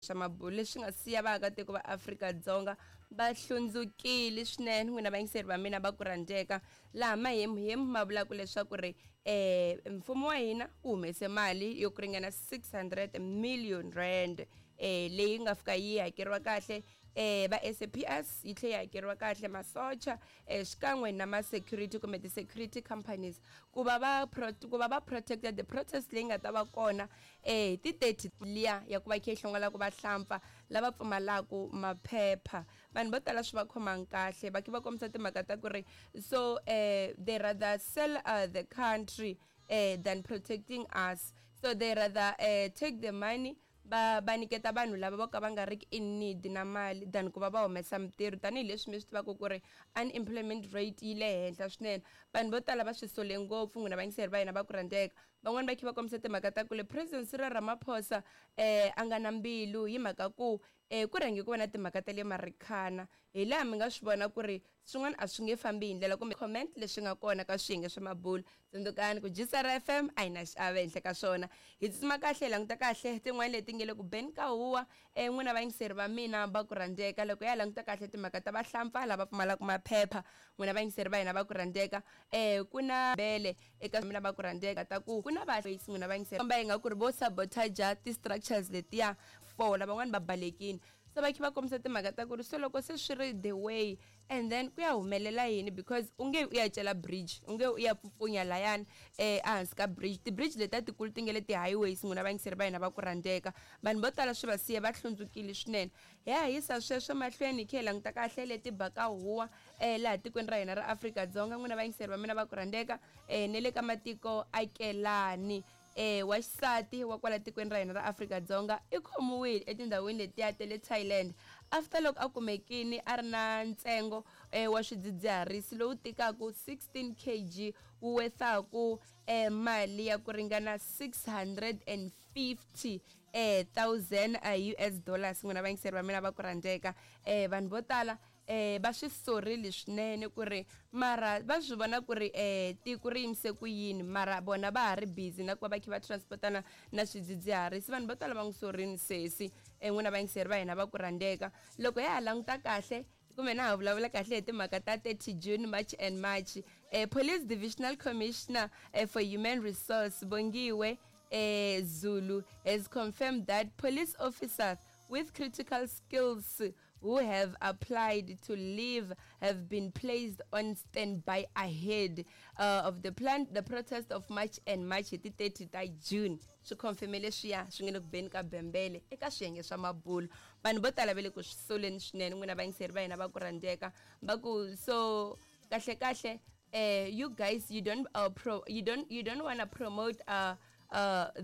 Swa mabulo leswi nga siya vaakatiko va Afrika-Dzonga va hlundzukile swinene. N'wina vayingiseri va mina va ku rhandzeka, laha mahemuhemu ma vulaka leswaku ri mfumo wa hina wu humese mali yo ku ringana 600 million rand leyi nga fika yi hakeriwa kahle va SAPS, yi tlhela yi hakeriwa kahle masocha xikan'we na ma-security kumbe ti-security companies ku va va ku va va protected the protest leyi nga ta va kona hi ti 30 liya ya ku va khe yi hlongolaka vahlampfa lava pfumalaku maphepha. Vanhu vo tala swi va khomangi kahle, va khe va kombisa timhaka ta ku ri so they rather sell the country than protecting us, so they rather take the money va va nyiketa vanhu lava vo ka va nga riki in need na mali than ku va va humesa mintirho, tanihileswi mi swi tivaka ku ri unemployment rate yi le henhla swinene. Vanhu vo tala va swi sole ngopfu, n'wina vayingiseri va hina va ku rhandzeka. Van'wani va khe va kombisa timhaka ta ku le President Cyril Ramaphosa a nga na mbilu hi mhaka ku ku rhange ku va na timhaka ta le Marikana, hi laha mi nga swi vona ku ri swin'wana a swi nge fambi hi ndlela kumbe comment leswi nga kona ka swiyenge swa mabulo. Tsundzukani ku GCR FM a yi na xiave henhla ka swona. Hi tsutsuma kahle hi languta kahle tin'wana leti nge le ku beni ka huwa. N'wina vayingiseri va mina va ku rhandzeka, loko ya languta kahle timhaka ta vahlampfa lava pfumalaka maphepha, n'wina vayingiseri va hina va ku rhandzeka, ku na bele eka mina va ku rhandzeka ta ku ku na va n'wina vayingiseri komba ingaku ri vo sabotage ti-structures letiya fola van'wani va balekini, se va khe va kombisa timhaka ta ku ri so loko se swi ri the way and then ku ya humelela yini, because u nge u ya cela bridge, u nge u ya pfupfunya layani ehansi ka bridge, ti-bridge letiya tikulu ti nge le ti-highways. N'wina vayingiseri va hina va ku rhandzeka, vanhu vo tala swi va siya va hlundzukile swinene. Hi ya yisa sweswo mahlweni hi khe hi languta kahle leti baka huwa laha tikweni ra hina ra Afrika-Dzonga, n'wina vayingiseri va mina va ku rhandzeka, ne le ka matiko akelani. Wa xisati wa kwala tikweni ra hina ra Afrika-Dzonga i khomiwile etindhawini letiya ta le Thailand after loko a kumekini a ri na ntsengo wa swidzidziharisi lowu tikaku 16 kg, wu wethaku mali ya ku ringana 650 thousand US dollars. N'wina vayingiseri va mina va ku rhandzeka, vanhu vo tala va swi sorile swinene ku ri mara va swi vona ku ri tiko ri yimise ku yini, mara vona va ha ri busy na ku va va kha va transportana na swidzidziharisi. Vanhu vo tala va n'wi sorini sesi. N'wina vayingiseri va hina va ku rhandzeka, loko ya ha languta kahle kumbe na ha vulavula kahle hi timhaka ta 30 June, March and March, Police Divisional Commissioner for Human Resource Bongiwe Zulu has confirmed that police officers with critical skills who have applied to leave have been placed on standby ahead of the plan the protest of March and March hi ti 30 ta June. Swi confirme leswiya swi nge le ku beni ka bembele eka swiyenge swa mabulo. Vanhu vo tala va le ku swi soleni swinene, n'wina vayingiseri va hina va ku rhandzeka, va ku so kahle kahle you guys, you don't pro you don't want to promote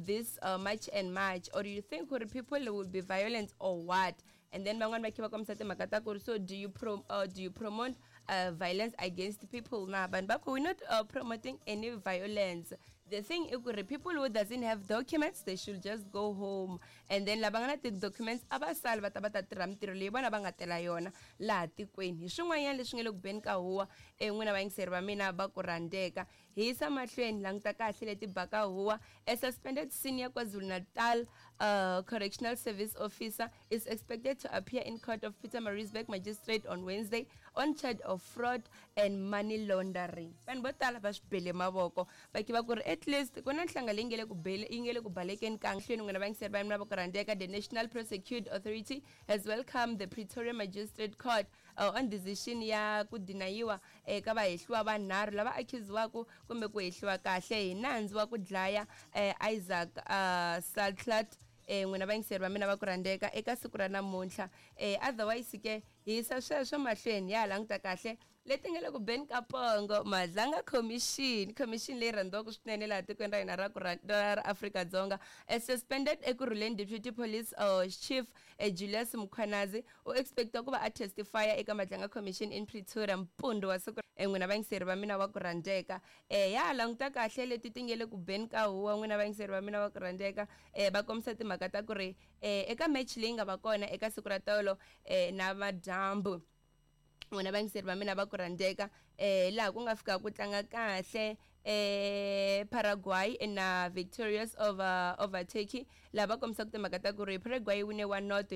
this March and March, or you think gore people will be violent or what? And then van'wani va khe va kombisa timhaka ta ku ri so do you promote violence against people na? Vanhu va ku we're not promoting any violence. The thing i ku ri people who doesn't have documents, they should just go home, and then lava nga na ti-documents a va sali va ta va ta tirha mintirho leyi vona va nga tela yona laha tikweni. Hi swin'wanyana leswi nge le ku beni ka huwa, n'wina vayingiseri va mina va ku rhandzeka. Hi yisa mahlweni languta kahle leti baka huwa. A suspended senior KwaZulu-Natal Correctional Service officer is expected to appear in court of Pietermaritzburg Magistrate on Wednesday on charge of fraud and money laundering. Vanhu vo tala va swi bele mavoko, va kiva ku ri at least ku na nhlanga leyi nge le ku bele yi nge le ku balekeni ka hlweni. N'wina vayingiseri va mina va ku rhandzeka, the National Prosecute Authority has welcomed the Pretoria Magistrate Court on decision ya ku dinayiwa eka vahehliwa vanharhu lava accusiwaku kumbe ku hehliwa kahle hi nandzu wa ku dlaya Isaac Saltlat. N'wina vayingiseri va mina va ku rhandzeka, eka siku ra namuntlha, otherwise ke hi yisa sweswo mahlweni ya ha languta kahle leti nga le ku beni ka pongo. Madlanga Commission, commission leyi rhandziwaka swinene laha tikweni ra hina ra ku ra ra Afrika-Dzonga, suspended Ekurhuleni Deputy Police Chief Julius Mkhwanazi u expectiwa ku va a testifya eka Madlanga Commission in Pretoria mpundzu wa siku. N'wina vayingiseri va mina wa ku rhandzeka, ya ha languta kahle leti ti nge le ku beni ka huwa. N'wina vayingiseri va mina wa ku rhandzeka, va kombisa timhaka ta ku ri eka match leyi nga va kona eka siku ra tolo na madyambu, n'wina vayingiseri va mina va ku rhandzeka, laha ku nga fika ku tlanga kahle. Paraguay na victorious over Turkey, laha va kombisaka timhaka ta ku ri Paraguay yi wine 1-0.